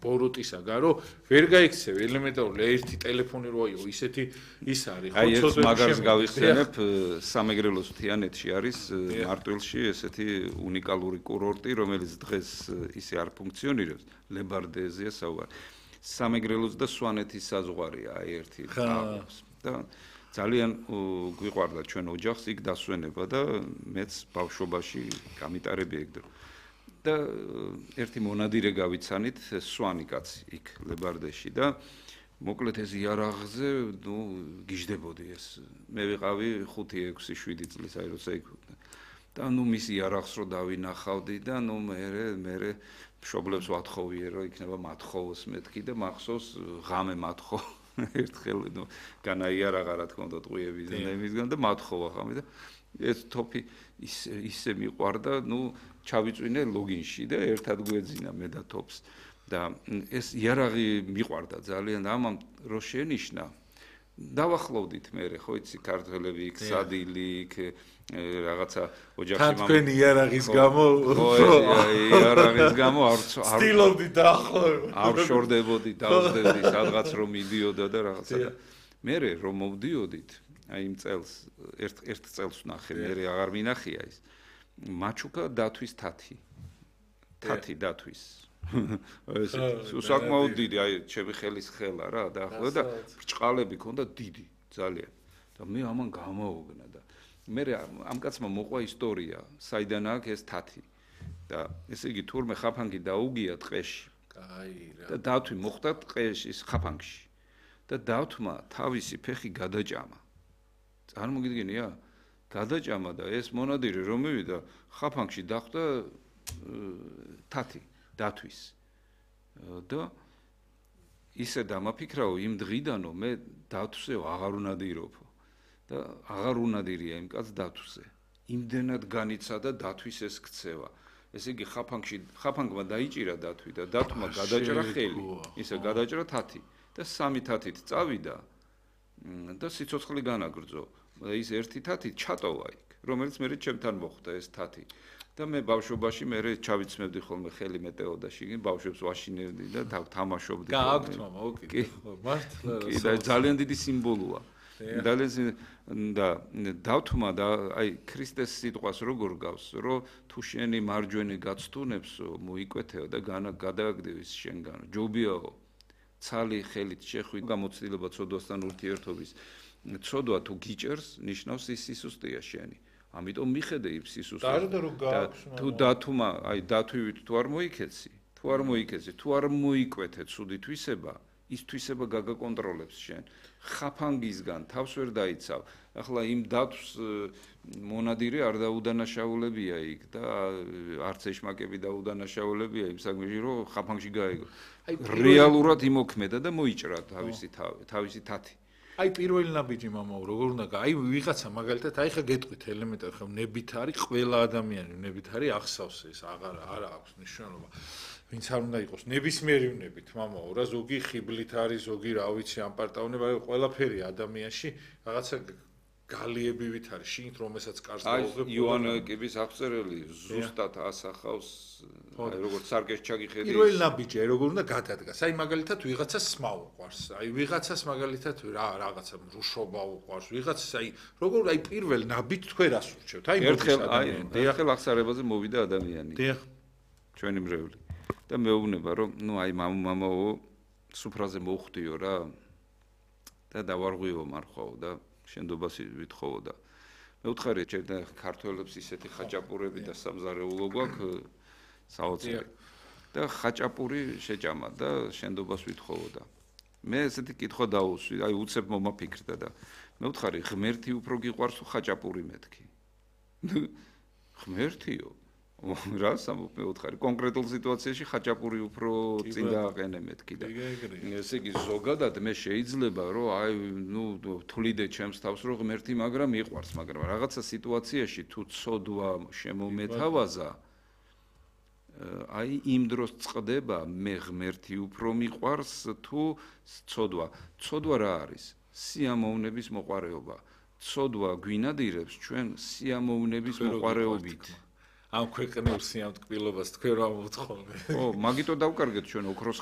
ბოროტისაგან, რომ ვერ გაიქცევი ელემენტარული ერთი ტელეფონი რო აიღო, ისეთი ის არის, ხო, ეს მაგარს გავიხსენებ, სამეგრელოს მთიანეთში არის მარტვილში ესეთი უნიკალური კურორტი, რომელიც დღეს ისე არ ფუნქციონირებს, ლებარდეზია საუბარი. სამეგრელოს და სვანეთის საზღვარია ერთი ხალხს და ძალიან გვიყვარდა ჩვენ ოჯახს იქ დასვენება და მეც ბავშვობაში გამიტარები ეგ დრო. და ერთი მონადირე გავიცანით სვანი კაცი იქ ლებარდეში და მოკლედ ეს იარაღზე გიждდებოდი ეს მე ვიყავი 5 6 7 წლის აი როცა იქ და მის იარაღს რო დავინახავდი და მე მშობლებს ვათხოვიე რომ იქნება მათხოვოს მეთქი და მახსოვს ღამე მათხოვ ერთხელ განაიარაღა რა თქმა უნდა ტყუებიდან და იმისგან და მათხოვა ხამე და ეს თოფი ისე მიყვარდა ჩავიწვინე ლოგინში და ერთად გვეძინა მე და თოფს და ეს იარაღი მიყვარდა ძალიან და ამამ რო შენიშნა დავახლოვდით მე ხო იცი ქართველები იქ სადილი იქ რაღაცა ოჯახში თქვენი იარაღის გამო იარაღის გამო არ სტილობდი დაახლოება არ შორდებოდი დავსდებდი სადღაც რომ მიდიოდა და რაღაცა და მე რომ მოვდიოდით აი იმ წელს ერთ წელს ვნახე მე აღარ მინახია ის მაჩუკა დათვის თათი დათვის ეს საკმაოდ დიდი აი ჩემი ხელის ხელა რა დაახლოებით და ბრჭყალები ქონდა დიდი ძალიან და მე ამან გამაოგნა და მე ამ კაცმა მოყვა ისტორია საიდან აქვს ეს თათი და ესე იგი თურმე ხაფანგი დაუგია ტყეში და დათვი მოხდა ტყეში ხაფანგში და დათვმა თავისი ფეხი გადაჭამა წარმოგიდგენია გადაჭამა და ეს მონადირე რომ მივიდა ხაფანგში დახვდა თათი დათვის და ისე დამაფიქრაო იმ დღიდანო მე დათვსე აღარ უნდა დიროფო და აღარ უნდა დირია იმ კაც დათვსე იმდენად განიცადა დათვის ეს ქცევა ესე იგი ხაფანგმა დაიჭირა დათვი და დათვმა გადაჭრა ხელი ისე გადაჭრა თათი და სამი თათით წავიდა და სიცოცხლე განაგრძო ის ერთი თათი ჩატოვა იქ რომელიც მე ჩემთან მოხვდა ეს თათი და მე ბავშვობაში მე ჩავიცმევდი ხოლმე ხელი მეტეოდაში ბავშვებს ვაშინებდი და თამაშობდი გააქვთ მამა ოკეი მართლა კი და ძალიან დიდი სიმბოლოა და დავთმა და აი ქრისტეს სიტყვას როგორ გავს რომ თუ შენი მარჯვენი გაცთუნებს მოიკვეთეო და გადააგდევის შენგან ჯობიაო ცალი ხელით შეხვი გამოცდილება ცოდვასთან ურთიერთობის ცოდვა თუ გიჭერს ნიშნავს ის სისუსტეა შენი ამიტომ მიხედე იმ სისუსტეს და თუ დათუმა აი დათვივით თუ არ მოიქეცი თუ არ მოიკვეთე ცუდი თვისება ის თვისება გაგაკონტროლებს შენ ხაფანგისგან თავს ვერ დაიცავ ახლა იმ დათვს მონადირე არ დაუდანაშაულებია იქ და არც ეშმაკები დაუდანაშაულებია იმ საქმეში რომ ხაფანგში გაეგო რეალურად იმოქმედა და მოიჭრა თავისი თათი აი პირველი ნაბიჯი მამაო როგორ უნდა აი ვიღაცა მაგალითად აი ხა გეტყვით ელემენტარი ხა ნებით არის ყველა ადამიანი ნებით არის ახსავს ეს არ აქვს მნიშვნელობა ვინც არ უნდა იყოს ნებისმიერი ნებით მამაო რა ზოგი ხიბლით არის ზოგი რა ვიცი ამპარტაუნება ყველაფერი ადამიანში რაღაცა გალიებივით არის შინთ რომელსაც კარს გაუღებ აი იოანეკების აღწერელი ზუსტად ასახავს აი როგორც სარკეს ჩაგიხედი პირველი ნაბიჯი აი როგორ უნდა გადადგას აი მაგალითად ვიღაცას სმა უყვარს აი ვიღაცას მაგალითად რაღაცა რუშობა უყვარს ვიღაცას აი როგორ აი პირველ ნაბიჯ თქვენ რას ურჩევთ აი ერთხელ აღსარებაზე მოვიდა ადამიანი დიახ ჩვენი მრევლი და მეუბნება რომ აი მამაო სუფრაზე მოვხვდიო რა და დავარღვიო მარხვაო და შენდობას ვითხოვო და მე ვთხარი ჩვენ ქართველებს ისეთი ხაჭაპურები და სამზარეულო გვაქვს საოცარი და ხაჭაპური შეჭამა და შენდობას ვითხოვო და მე ესეთი კითხვა დაუსვი აი უცებ მომაფიქრდა და მე ვთხარი ღმერთი უფრო გიყვარს თუ ხაჭაპური მეთქი ღმერთიო რა მე ვთხარი კონკრეტულ სიტუაციაში ხაჭაპური უფრო წინ დააყენე მეთქი და ესე იგი ზოგადად მე შეიძლება რომ აი თვლიდე ჩემს თავს რომ ღმერთი მაგრამ მიყვარს მაგრამ რაღაცა სიტუაციაში თუ ცოდვა შემომეთავაზა აი იმ დროს წყდება მე ღმერთი უფრო მიყვარს თუ ცოდვა რა არის სიამოვნების მოყარეობა ცოდვა გვინადირებს ჩვენ სიამოვნების მოყარეობით ამ ქვეყნებს სიამთკბილობას თქვენ რა მოთხოვთ ო მაგიტო დავკარგეთ ჩვენ ოქროს